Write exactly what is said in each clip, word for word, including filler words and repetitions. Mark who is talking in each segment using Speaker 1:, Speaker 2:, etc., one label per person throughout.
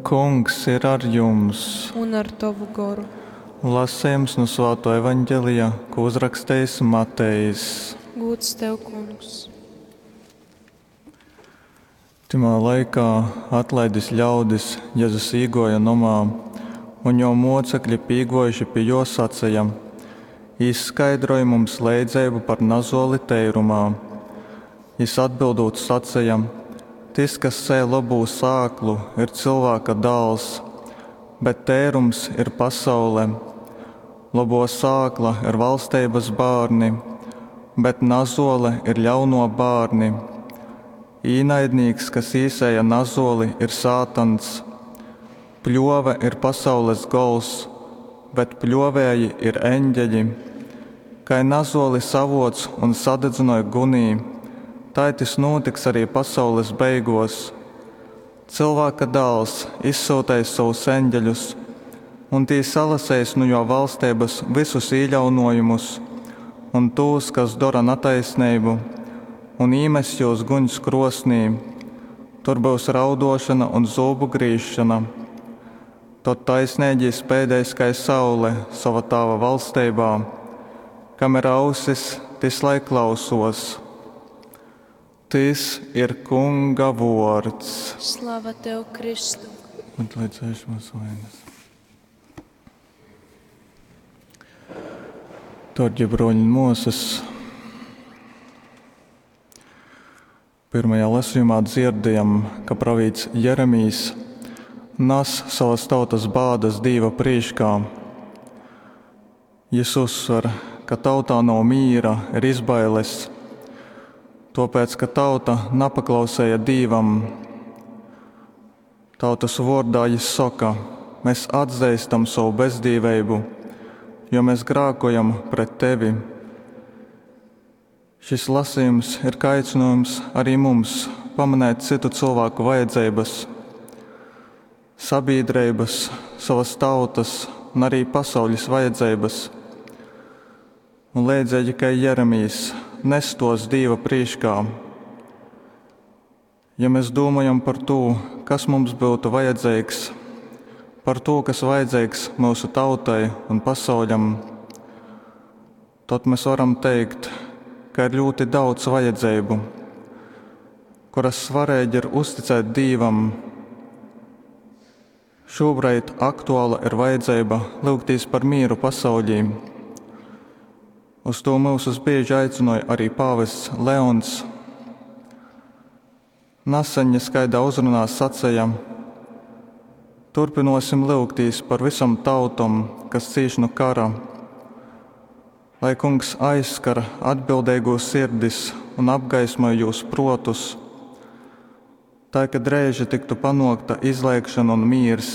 Speaker 1: Kungs ir ar jums!
Speaker 2: Un ar tovu goru.
Speaker 1: Lasejums nu Svātō Evaņgelija, ko uzrakstejis Matejs.
Speaker 2: Gūds tev, Kungs!
Speaker 1: Tymā laikā, atlaidis ļaudis, Jezus īgōja nomā, un jō mōcekli, pīgōjuši pi jō, saceja, Izskaidroj mums leidzeibu par nazōli teirumā. Jys atbyldūt saceja, Tys, kas sēj lobū sāklu, ir Cylvāka Dāls, bet teirums ir pasaule. Lobō sākla ir valsteibas bārni, bet nazōle ir ļaunō bārni. Īnaidnīks, kas īsēja nazōli, ir sātans. Pļōve ir pasaules gols, bet pļōvēji ir eņgeļi. Kai nazōli savōc un sadadzynoj gunī, tai tys nūtiks ari pasaules beigōs. Cylvāka Dāls izsyuteis sovus eņgeļus, un tī salaseis nu jō valsteibas vysus īļaunōjumus un tūs, kas dora nataisneibu, un īmess jūs guņs krōsnī. Tur byus raudōšona un zūbu grīzšona. Tod taisneigī speidēs kai saule sova Tāva valsteibā. Kam ir ausis, tys lai klausōs. Tys ir Kunga vōrds.
Speaker 2: Slava tev, Kristu!
Speaker 1: Atlaidz vainas. Dārgie broļi un mōsas, pirmajā lasījumā dzirdējam, ka pravīts Jeremijs nas savas tautas bādas Dīva prīškā. Jis uzsver, ka tautā nav mīra, ir izbailes, tōpēc, ka tauta napaklausēja Dīvam. Tautas vōrdā jis soka, mēs atzeistam savu bezdīveibu, jo mēs grākojam pret tevi. Šis lasījums ir kā aicinājums arī mums pamanēt citu cilvēku vajadzības, sabiedrības, savas tautas un arī pasaules vajadzības. Un leidzīgi kā Jeremijs nes tos Dīva prīškā. Ja mēs domājam par to, kas mums būtu vajadzīgs, par to, kas vajadzīgs mūsu tautai un pasauļam, tad mēs varam teikt, ka ir ļoti daudz vajadzību, kuras svarīgi ir uzticēt Dīvam. Šobrīd aktuāla ir vajadzība lūgties par mieru pasaulī. Uz to mūsus bieži aicināja arī pāvests Leons. Naseņ es kaidā uzrunā sacīja, turpinosim lūgtīs par visam tautom, kas cīš no kara, lai Kungs aizskar atbildīgos sirdis un apgaismoj jūs protus, tā ka dreiži tiktu panokta izlēkšana un miers.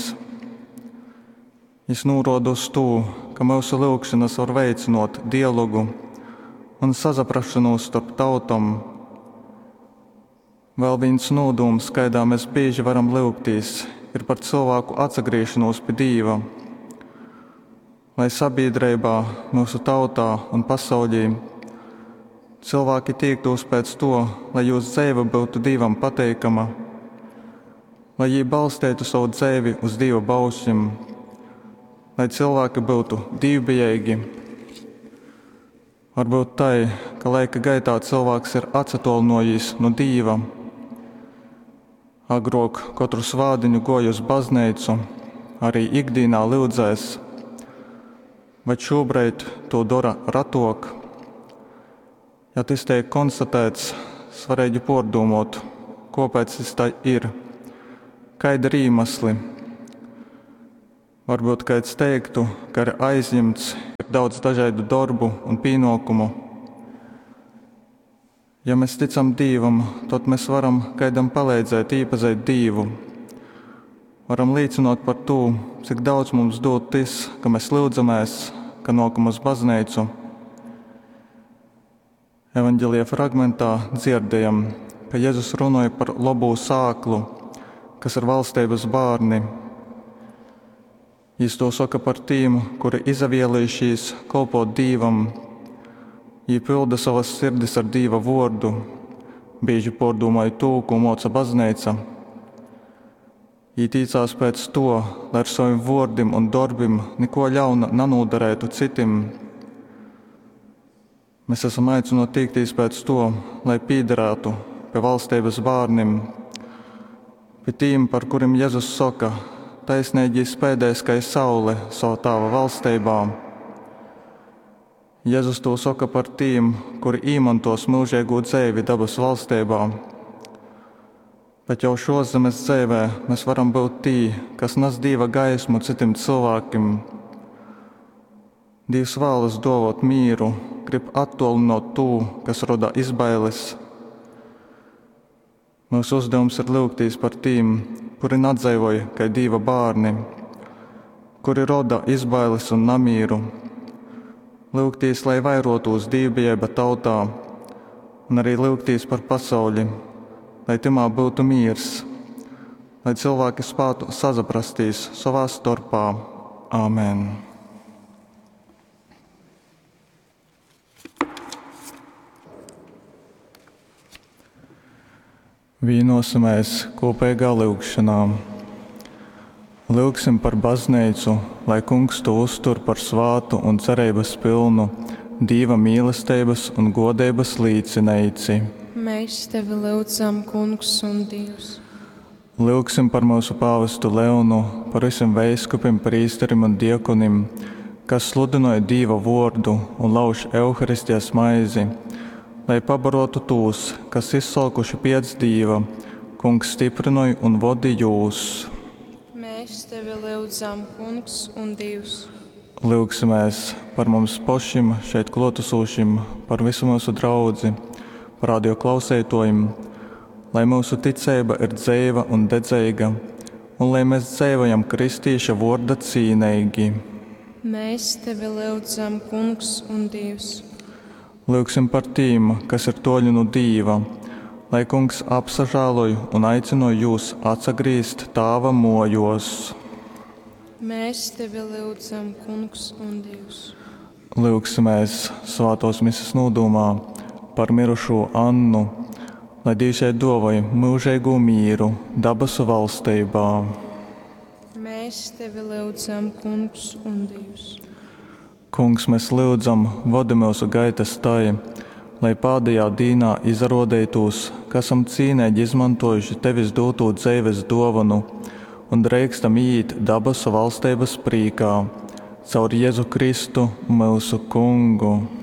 Speaker 1: Jis nūroda uz to, ka mūsu lūgšanas var veicinot dialogu un sazaprašanos starp tautom. Vēl viens nūdūms, kaidā mēs bieži varam lūgtīs, ir par cilvēku atsagriešanos pie Dīva. Lai sabiedrībā, mūsu tautā un pasaulī cilvēki tiektos pēc to, lai jūsu dzīve būtu Dīvam pateikama, lai jī balstītu savu dzīvi uz Dīva baušļiem, lai cilvēki būtu dīvbijīgi. Varbūt tai, ka laika gaitā cilvēks ir atsatolinojis no Dīva. Agrāk katru svādiņu goju uz baznīcu, arī ikdienā lūdzēs, bet šobrīd to dara ratok. Ja tas tiek konstatēts, svarīgi pārdomot, kāpēc tas tā ir, kādi ir iemesli. Varbūt kāds teiktu, ka ir aizņemts, ir daudz dažādu darbu un pienākumu. Ja mēs ticam Dievam, tad mēs varam kādam palīdzēt iepazīt Dievu. Varam liecināt par to, cik daudz mums dod tas, ka mēs lūdzamies, ka nākam uz baznīcu. Evanģelija fragmentā dzirdējam, ka Jēzus runāja par labo sāklu, kas ir valstības bērni. Jis to saka par tiem, kuri izavielījušies kalpot Dīvam. Jī pilda savas sirdis ar Dīva vārdu, bieži pārdomāja to, ko moca baznīca. Jī tīcās pēc tuo, lai ar sovim vuordim un dorbim nikuo ļauna nanūdareitu cytim. Mes asam aicynuoti tīktīs pēc tuo, lai pīdarātu pi valsteibys bārnim, pi tīm, par kurim Jezus soka, taisneigī speidēs kai saule sova Tāva valsteibā. Jezus tū soka par tīm, kuri īmontuos myužeigū dzeivi dabasu valsteibā. Bet jau šuoszemes dzeivē mes varam byut tī, kas nas Dīva gaismu cytim cylvākim. Dīvs vālas duovuot mīru, grib attuolynuot tū, kas roda izbailes. Myusu uzdevums ir lyugtīs par tīm, kuri nadzeivoj kai Dīva bārni, kuri roda izbailes un namīru. Lyugtīs, lai vairotūs dīvbijeiba tautā, un arī lyugtīs par pasauli, lai tymā byutu mīrs, lai cylvāki spātu sasaprastīs sovā storpā. Āmen! Vīnosimies kopīgā lyugšanā. Lyugsim par baznīcu, lai Kungs tū uztur par svātu un cereibys pylnu Dīva mīlesteibys un guodeibys līcineici.
Speaker 2: Mēs tevi lyudzam, Kungs un Dievs.
Speaker 1: Lyugsim par myusu pāvestu Leonu, par vysim veiskupim, prīsterim un diakonim, kas sludynoj Dīva vuordu un lauž Euharistijas maizi, lai pabaruotu tūs, kas izsolkuši piec Dīva. Kungs, styprynoj un vodi jūs!
Speaker 2: Mēs tevi lyudzam, Kungs un Dievs.
Speaker 1: Lyugsimēs par mums pošim, šeit kluotasūšim, par vysu myusu draudzi, par radio klauseituojim, lai myusu ticeiba ir dzeiva un dedzeiga, un lai mēs dzeivojam kristīša vuorda cīneigi.
Speaker 2: Mēs tevi lyudzam, Kungs un Dievs.
Speaker 1: Lyugsim par tīm, kas ir tuoļi nu Dīva, lai Kungs apsažāloj un aicynoj jūs atsagrīzt Tāva muojuos.
Speaker 2: Mēs tevi lyudzam, Kungs un Dievs.
Speaker 1: Lyugsimēs svātuos mises nūdūmā par mirušū Annu, lai Dīvs jai duovoj myužeigū mīru dabasu valsteibā.
Speaker 2: Mēs tevi lyudzam, Kungs un Dievs.
Speaker 1: Kungs, mēs lyudzam, vodi myusu gaitas tai, lai pādejā dīnā izaruodeitūs, ka asam cīneigi izmantojuši Tevis dūtū dzeives duovonu un dreikstam īīt dabasu valsteibys prīkā. Caur Jezu Kristu, myusu Kungu.